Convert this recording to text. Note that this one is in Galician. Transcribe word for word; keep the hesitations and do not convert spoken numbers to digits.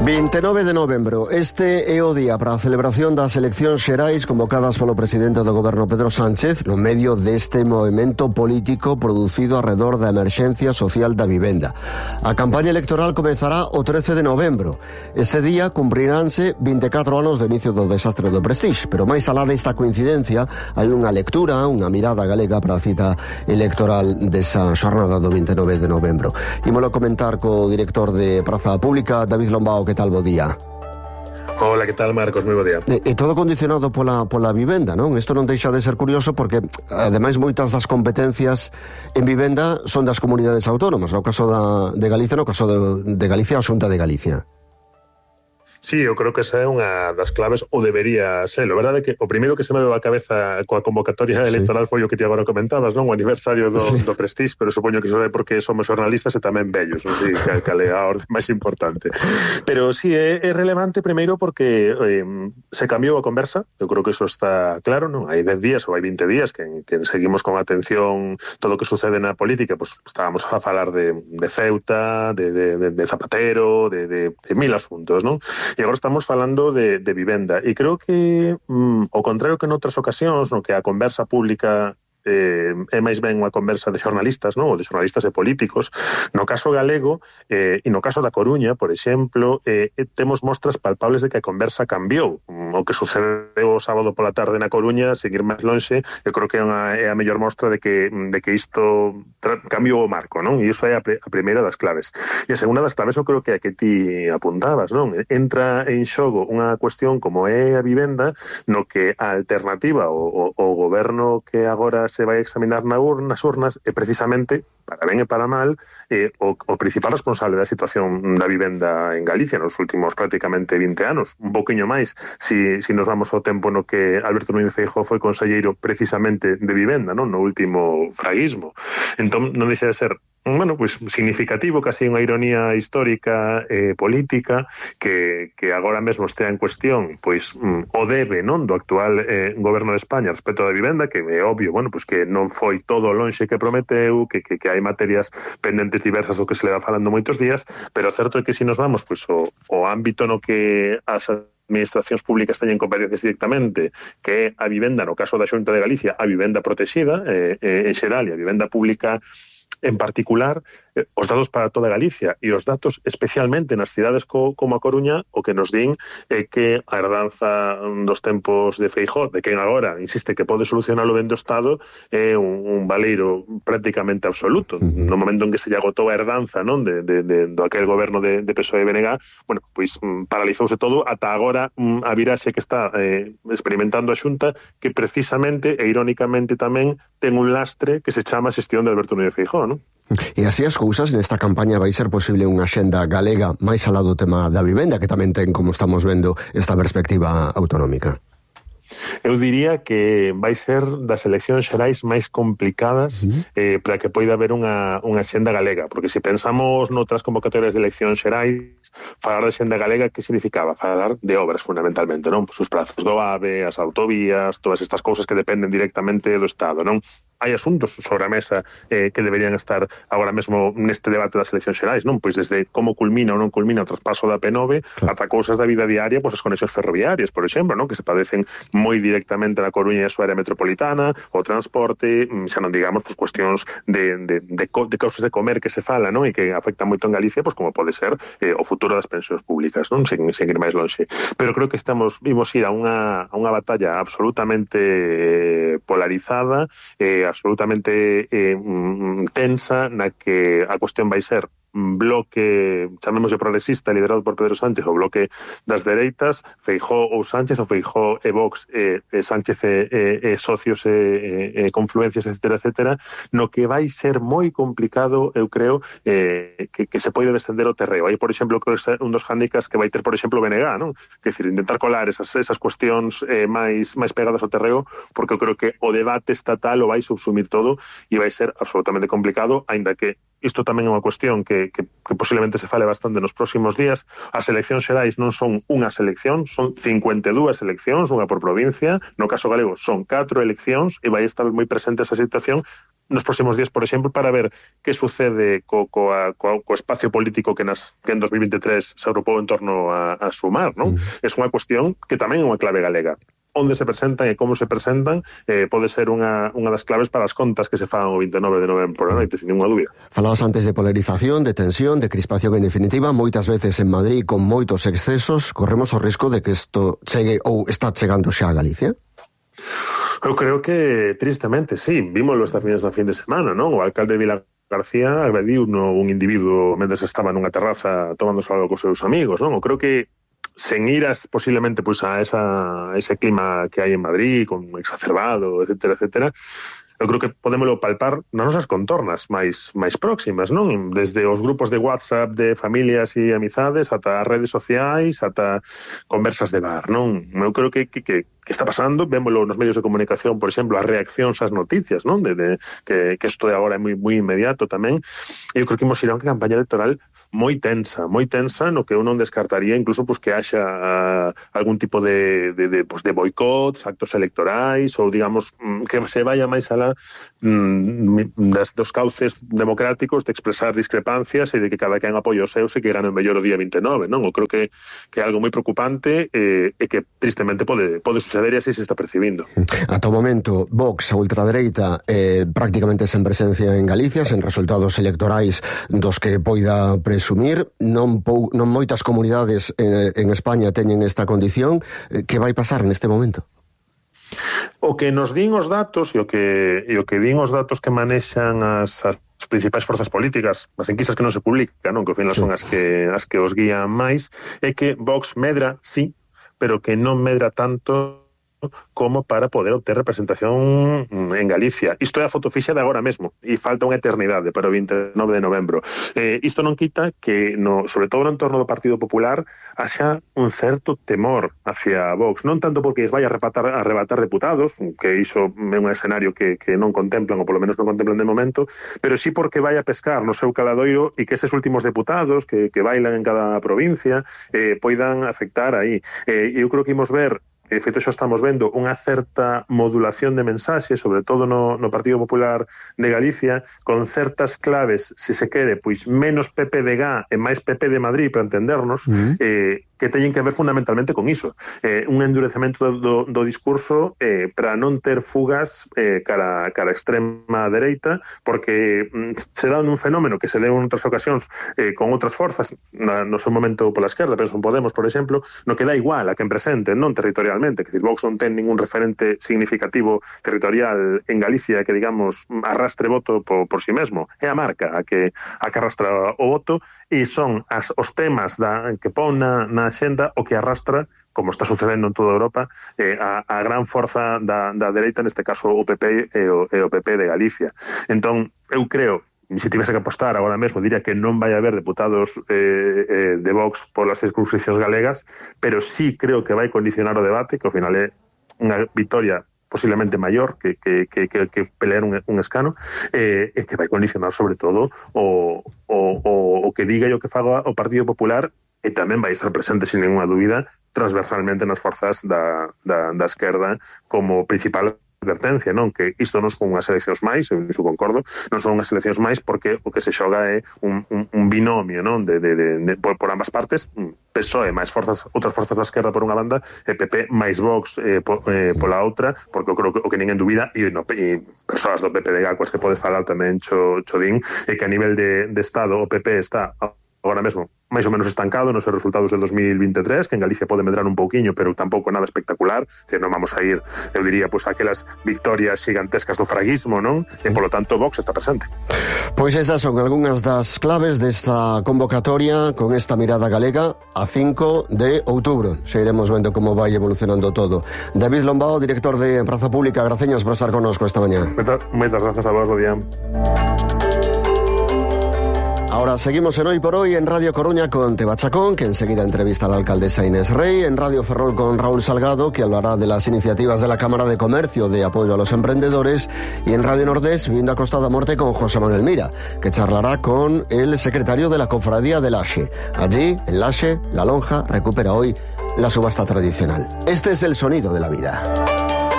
vinte e nove de novembro, este é o día para a celebración das eleccións xerais convocadas polo presidente do goberno Pedro Sánchez no medio deste movimento político producido arredor da emerxencia social da vivenda. A campaña electoral comezará o trece de novembro. Ese día cumpriránse vinte e catro anos do inicio do desastre do Prestige, pero máis alá desta coincidencia hai unha lectura, unha mirada galega para a cita electoral desa xornada do vinte e nove de novembro. Ímolo comentar co director de Praza Pública, David Lombao. Que tal, bo día? Hola, que tal, Marcos? Moi bo día. E, e todo condicionado pola, pola vivenda, non? Isto non deixa de ser curioso porque, ademais, moitas das competencias en vivenda son das comunidades autónomas. No caso da, de Galicia, no caso de, de Galicia, a Xunta de Galicia. Sí, eu creo que esa é unha das claves, ou debería ser. A verdade é que o primeiro que se me deu a cabeza coa convocatoria electoral sí. foi o que ti agora comentabas, non? O aniversario do, sí. do Prestige, pero supoño que iso é porque somos xornalistas e tamén vellos, non sei que, que é a orde máis importante. Pero sí, é, é relevante primeiro porque eh, se cambiou a conversa, eu creo que iso está claro, non? Hai dez días ou hai vinte días que, que seguimos con atención todo o que sucede na política, pues estábamos a falar de, de Ceuta, de, de, de, de Zapatero, de, de, de mil asuntos, non? E agora estamos falando de, de vivenda. E creo que, mm, ao contrario que noutras ocasións, no que a conversa pública eh, é máis ben unha conversa de xornalistas, non? Ou de xornalistas e políticos, no caso galego eh, e no caso da Coruña, por exemplo, eh, temos mostras palpables de que a conversa cambiou. O que sucedeu o sábado pola tarde na Coruña, seguir máis lonxe, eu creo que é, unha, é a mellor mostra de que, de que isto cambiou o marco, non? E iso é a, a primeira das claves. E a segunda das claves eu creo que é a que ti apuntabas, non? Entra en xogo unha cuestión como é a vivenda, no que a alternativa, o, o, o goberno que agora se vai a examinar na urna, nas urnas é precisamente, para ben e para mal, eh, o, o principal responsable da situación da vivenda en Galicia nos últimos prácticamente vinte anos, un poquinho máis si, si nos vamos ao tempo no que Alberto Núñez Feijóo foi conselleiro precisamente de vivenda, non? No último fraguismo. Entón non deixa de ser bueno, pues significativo, casi unha ironía histórica eh, política que, que agora mesmo estea en cuestión pois mm, o debe, non, do actual eh, goberno de España respecto da vivenda, que é obvio, bueno, pues que non foi todo lonxe que prometeu, que, que, que hai materias pendentes diversas do que se le va falando moitos días, pero certo é que se si nos vamos pois o, o ámbito no que as administracións públicas teñen competencias directamente, que é a vivenda, no caso da Xunta de Galicia, a vivenda protexida eh, eh, en xeral, e a vivenda pública en particular, eh, os datos para toda Galicia e os datos especialmente nas cidades co, como a Coruña, o que nos din é eh, que a herdanza dos tempos de Feijóo, de quen agora insiste que pode solucionar o ben do Estado, é eh, un, un valeiro prácticamente absoluto. No momento en que se lle agotou a herdanza, non, de, de, de, do aquel goberno de, de P S O E e B N G, bueno, pois mm, paralizouse todo ata agora mm, a viraxe que está eh, experimentando a Xunta, que precisamente e irónicamente tamén ten un lastre que se chama xestión de Alberto Núñez Feijóo, non? E así as cousas, nesta campaña vai ser posible unha xenda galega máis alá do tema da vivenda, que tamén ten, como estamos vendo, esta perspectiva autonómica. Eu diría que vai ser das eleccións xerais máis complicadas uh-huh. eh, para que poida haber unha, unha xenda galega, porque se pensamos noutras convocatorias de eleccións xerais, falar de xenda galega, que significaba? Falar de obras, fundamentalmente, non? Pues os prazos do AVE, as autovías, todas estas cousas que dependen directamente do Estado, non? Hai asuntos sobre a mesa eh, que deberían estar agora mesmo neste debate das eleccións xerais, non? Pois desde como culmina ou non culmina o traspaso da P nove, claro, ata cousas da vida diaria, pois as conexións ferroviarias, por exemplo, non? Que se padecen moi directamente na Coruña e a súa área metropolitana, o transporte, xa non digamos pois cuestións de, de, de, de causas de comer que se fala, non? E que afectan moito en Galicia, pois como pode ser eh, o futuro das pensións públicas, non? Sen, sen ir máis longe. Pero creo que estamos vimos ir a unha, a unha batalla absolutamente eh, polarizada, eh, absolutamente eh, tensa, na que a cuestión vai ser bloque, chamémoslle progresista, liderado por Pedro Sánchez, o bloque das dereitas, Feijóo ou Sánchez, ou Feijóo e Vox, e, e Sánchez e, e, e socios e, e, e confluencias, etcétera, etcétera, no que vai ser moi complicado, eu creo, eh, que, que se pode descender o terreo. Aí, por exemplo, creo que é un dos handicaps que vai ter, por exemplo, B N G, non? Que é dicir, intentar colar esas, esas cuestións eh, máis, máis pegadas ao terreo, porque eu creo que o debate estatal o vai subsumir todo e vai ser absolutamente complicado, aínda que isto tamén é unha cuestión que, que, que posiblemente se fale bastante nos próximos días. As eleccións xerais non son unhas eleccións, son cincuenta e dúas eleccións, unha por provincia. No caso galego son catro eleccións e vai estar moi presente esa situación nos próximos días, por exemplo, para ver que sucede co, co, co, co espacio político que, nas, que en dos mil veintitrés se agrupou en torno a, a sumar, non? Mm. É unha cuestión que tamén é unha clave galega. Onde se presentan e como se presentan eh, pode ser unha, unha das claves para as contas que se fan o vinte e nove de novembro por a noite, sin ninguna dúbida. Falabas antes de polarización, de tensión, de crispación en definitiva, moitas veces en Madrid con moitos excesos, corremos o risco de que isto chegue ou está chegando xa a Galicia? Eu creo que, tristemente, sí. Vímoslo estas fines da fin de semana, non? O alcalde de Vila García agrediu un individuo mentres estaba nunha terraza tomándose algo cos seus amigos, non? Eu creo que sen iras posiblemente pues, a, esa, a ese clima que hai en Madrid, con exacerbado, etcétera, etcétera, eu creo que podémoslo palpar nas nosas contornas máis máis próximas, non? Desde os grupos de WhatsApp de familias e amizades ata as redes sociais, ata conversas de bar, non? Eu creo que, que, que, que está pasando, vémoslo nos medios de comunicación, por exemplo, as reaccións ás noticias, non? De, de, que, que isto de agora é moi, moi inmediato tamén. E eu creo que imos ir a unha campaña electoral moi tensa, moi tensa, no que eu non descartaría incluso pues, que haxa uh, algún tipo de, de, de, pues, de boicots, actos electorais, ou digamos, que se vaya máis alá mm, das, dos cauces democráticos de expresar discrepancias e de que cada quen apoie os seus e que gane o mellor o día vinte e nove, non? Eu creo que, que é algo moi preocupante eh, e que tristemente pode, pode suceder e así se está percibindo. Ata o momento, Vox, a ultradereita, eh, prácticamente sen presencia en Galicia, sen resultados electorais dos que poida presumir, non, pou, non moitas comunidades en, en España teñen esta condición. Que vai pasar neste momento? O que nos din os datos e o que, e o que din os datos que manexan as, as principais forzas políticas, as enquisas que non se publican, non? Que ao final sí. son as que, as que os guían máis, é que Vox medra, sí, pero que non medra tanto como para poder obter representación en Galicia. Isto é a fotofixa de agora mesmo e falta unha eternidade para o vinte e nove de novembro. Eh, isto non quita que, no, sobre todo no entorno do Partido Popular, haxa un certo temor hacia Vox, non tanto porque es vai a arrebatar, a arrebatar deputados, que iso é un escenario que, que non contemplan, ou polo menos non contemplan de momento, pero sí porque vai a pescar no seu caladoiro e que eses últimos deputados que, que bailan en cada provincia eh, poidan afectar aí. Eh, eu creo que imos ver que de feito xa estamos vendo unha certa modulación de mensaxes, sobre todo no, no Partido Popular de Galicia, con certas claves, se se quere, pois menos P P de G A e máis P P de Madrid, para entendernos, uh-huh. eh, que teñen que ver fundamentalmente con iso. Eh, un endurecemento do, do, do discurso eh, para non ter fugas eh, cara, cara extrema dereita, porque mm, se dá un fenómeno que se deu en outras ocasións eh, con outras forzas, na, no seu momento pola esquerda, penso en Podemos, por exemplo, no que dá igual a quen presente, non territorialmente, que decir, Vox non ten ningún referente significativo territorial en Galicia que, digamos, arrastre voto por, por si mesmo. É a marca a que, a que arrastra o voto e son as, os temas da, que pon na, na xenda o que arrastra, como está sucedendo en toda Europa, eh, a, a gran forza da, da dereita, neste caso o P P e o, e o P P de Galicia. Entón, eu creo, se tivese que apostar agora mesmo, diría que non vai haber deputados eh, eh, de Vox polas circunscripcións galegas, pero sí creo que vai condicionar o debate, que ao final é unha victoria posiblemente maior que, que, que, que, que pelear un, un escano, eh, e que vai condicionar sobre todo o, o, o, o que diga e o que faga o Partido Popular, e tamén vai estar presente, sin ninguna dúbida, transversalmente nas forzas da, da, da esquerda como principal advertencia, non? Que isto non son unhas eleccións máis, eu iso concordo, non son unhas eleccións máis porque o que se xoga é un, un, un binomio, non? De, de, de, de, por, por ambas partes, P S O E máis forzas, outras forzas da esquerda por unha banda, e P P máis Vox eh, po, eh, pola outra, porque eu creo que o que ninguén dubida, e, no, e persoas do P P de G A coas que podes falar tamén cho, cho din, é que a nivel de, de Estado o P P está agora mesmo máis ou menos estancado nos resultados del dos mil veintitrés, que en Galicia pode medrar un pouquiño, pero tampouco nada espectacular, que non vamos a ir, eu diría, pues, aquelas victorias gigantescas do fraguismo, non? E, polo tanto, Vox está presente. Pois esas son algunhas das claves desta convocatoria con esta mirada galega a cinco de outubro. Xa iremos vendo como vai evolucionando todo. David Lombao, director de Praza Pública, graciñas por estar connosco esta mañá. Moitas grazas a vos, Rodián. Ahora seguimos en Hoy por Hoy en Radio Coruña con Teba Chacón, que enseguida entrevista a la alcaldesa Inés Rey, en Radio Ferrol con Raúl Salgado, que hablará de las iniciativas de la Cámara de Comercio de apoyo a los emprendedores, y en Radio Nordés, Vivienda Costa da Morte con José Manuel Mira, que charlará con el secretario de la Cofradía de Laxe. Allí, en Laxe, la lonja recupera hoy la subasta tradicional. Este es el sonido de la vida.